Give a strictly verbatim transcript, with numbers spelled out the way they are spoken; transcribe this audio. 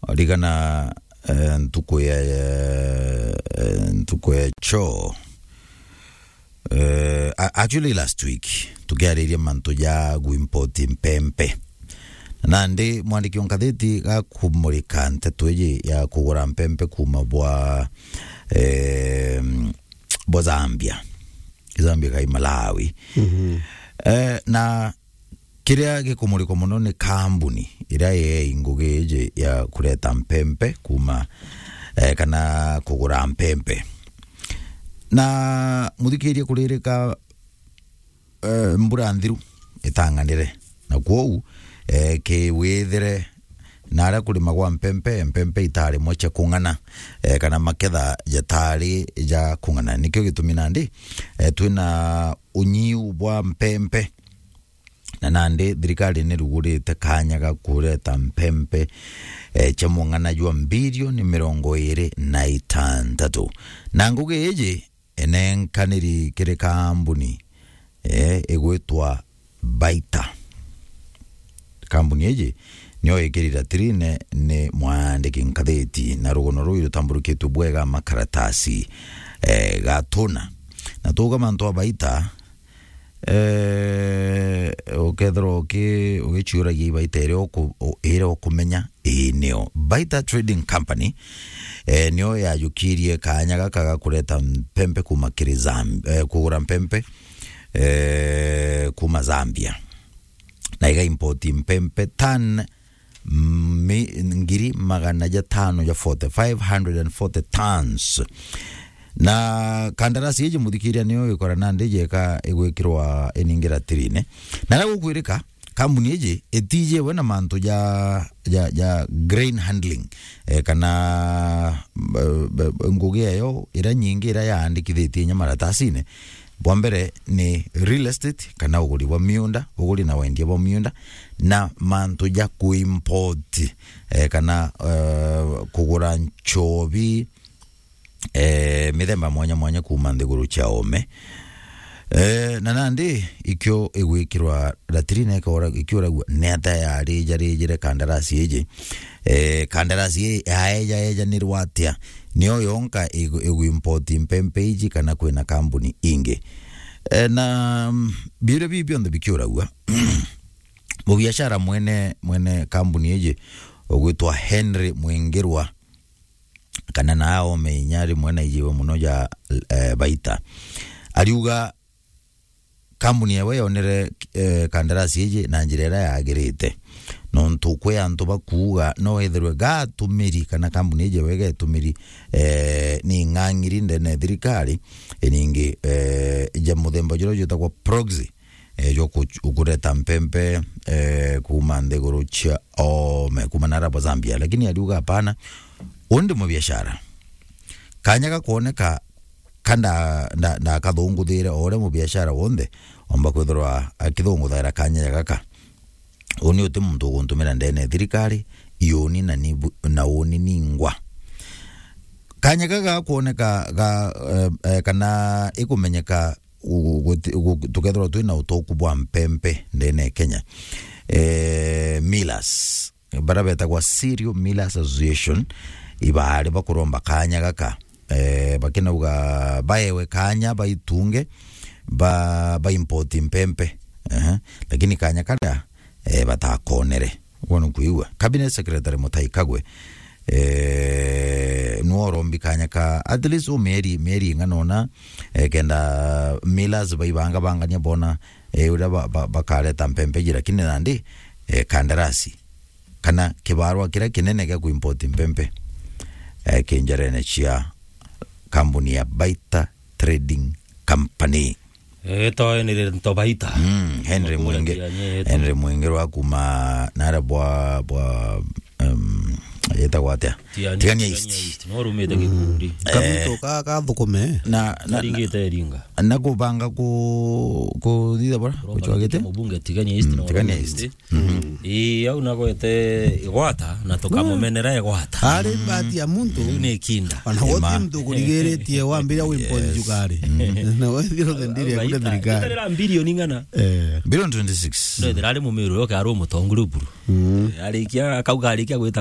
Ririkana, eh, ntuku ya, eh, ntuku ya choo. Eh, a-, actually last week, tukiariria mantu ja gu import mpempe. Nandi mwandiki o ngatheti gakumurika nteto iji ya kugura mpempe kuma bwa, eh, bwa Zambia. Zambia kai Malawi. Mhm. Eh, na kiria gikumurikwa mono ni kambuni iria yei ngugi iji ya kureta mpempe kuma, eh, kana kugura mpempe. Na muthikirie kuririka, eh, mbura nthiru itang'anire. Na kwou, eh, kiwithire na aria kurimagwa mpempe, mpempe itarimwe cia kung'ana, eh, kana maketha jatari ja kung'ana. Nikio gitumi nandi, eh, twina unyiu bwa mpempe. Na nandi thirikari nirugurite kanya ga kureta mpempe, eh, cia mung'ana jwa mbirioni mirongo iri na itantatu. Na ngugi iji enenkaniri kiri kambuni, eh, igwitwa Baita. Kambuni iji nio ikiri ratirine ni mwandiki ngatheti, na rugono ruu rutamburukitwe bwega makaratasi, eh, gatuna. Na tuuga mantu a Baita, eh, ukethirwa uki-, ugichiuragia ibaita iria uku-, u-, iria ukumenya, ii nio. Baita Trading Company, eh, nio yajukirie kanya gaka ga kureta mpempe kuma kiri Zam-, eh, kugura mpempe, eh, kuma Zambia. Na iga import mpempe tan mi-, ngiri magana jatano ja forty, five hundred and forty tons. Na kandarasi iji muthikiria niyo ikora nandi jeka igwikirwa iningira tirine. Na ria gukwirika, kambuni iji itijiwe na mantu ja, ja, ja grain handling, eh, kana, eh, eh, ngugi eyo ira nyingi ira yaandikithitie inya maratasine. Bwa mbere ni real estate, kana uguri bwa miunda, uguri na wendia bwa miunda, na mantu ja kuimport, eh, kana, eh, kugura nchobi, eh, mithemba mwanya mwanya kuma nthiguru cia ome. Eh, na nandi ikio igwikirwa latrine ikora, ikiuragua ni ata yari jarijire kandarasi iji. Eh, kandarasi ii yaeja ejanirwa atia? Nio yonka igu-, iguimport mpempe iji kana kwina kambuni ingi? Eh, na, mm, biria biu bionthe bikiuragua, mubiashara mwene, mwene kambuni iji ugwitwa Henry Mwingirwa, kana na aome inya rimwe na ijiwe muno ja, eh, Baita, ariuga kambuni yawe yonere, eh, kandarasi iji na njira iria yagirite. Nontu kwi antu bakuuga no ethirwe gatumiri kana kambuni iji yawe getumiri, eh, ni ng'ang'iri ndene ya thirikari, iningi, eh, ja muthemba juria jwitagwa proxy, eh, jwa ku-, kureta mpempe, eh, kuma nthiguru cia ome, kuma nara bwa Zambia. Lakini ariuga, "Hapana, uu ndi mubiashara." Kanya gakwoneka ka nda-, nda-, ndakathunguthiire o uria mubiashara wonthe omba kwithirwa akithunguthaira kanya ja gaka. Uni uti muntu uguntumira ndene ya thirikari, iuni na ni bu-, na uni ningwa. Kanya gaka gakwoneka ga, eh, eh, kana ikumenyeka gu-, guti-, gu-, tukethirwa twina utoku bwa mpempe ndene ya Kenya. Eh, millers, baria betagwa Cereal Millers Association, ibaari bakuromba kanya gaka, eh, bakinauga baewe kanya baitunge, ba, ba import mpempe. Ehe. Lakini kanya karia, eh, batakonere. Uguo nukwigua. Cabinet Secretary Mutahi Kagwe, eh, nwe urombi kanya ka at least u mieri, mieri ing'ana una, eh, kenda millers baibanga bangania bona, eh, uria ba, ba, bakareta mpempe iji, lakini nandi, eh, kandarasi kana kibarua kiria kinene gia kuimport mpempe, eh, ki njarene cia kambuni ya Baita Trading Company. Eto ni Rento Baita. Mm, Henry Mwingi-, Henry Mwingirwa kuma nara bwa, bwa, um, yetagwa atia? Tigania, Tigania East. No rumite gikundi. Kaguto ka, ka thukume. Na, na, Aringite Iringa. Na kubanga ku, kuthitha bora, kuchwagite? Mubunge Tigania East. Mm, no Tigania rumite. East. Mhm. Ii, au nagwete igwata, na tukamumenera igwata. Ari bahati ya muntu. Riu ni kinda. Ona goti muntu kurigiritie wambira wimport cukari. Na wethira uthindire kuda thirikari. Itarira bilioni ng'ana. Eh. Bilioni twenty-six. Ndethira ari mumiru yoke ari umutongu ruburu. Mm. Arikia, akauga arikia gwita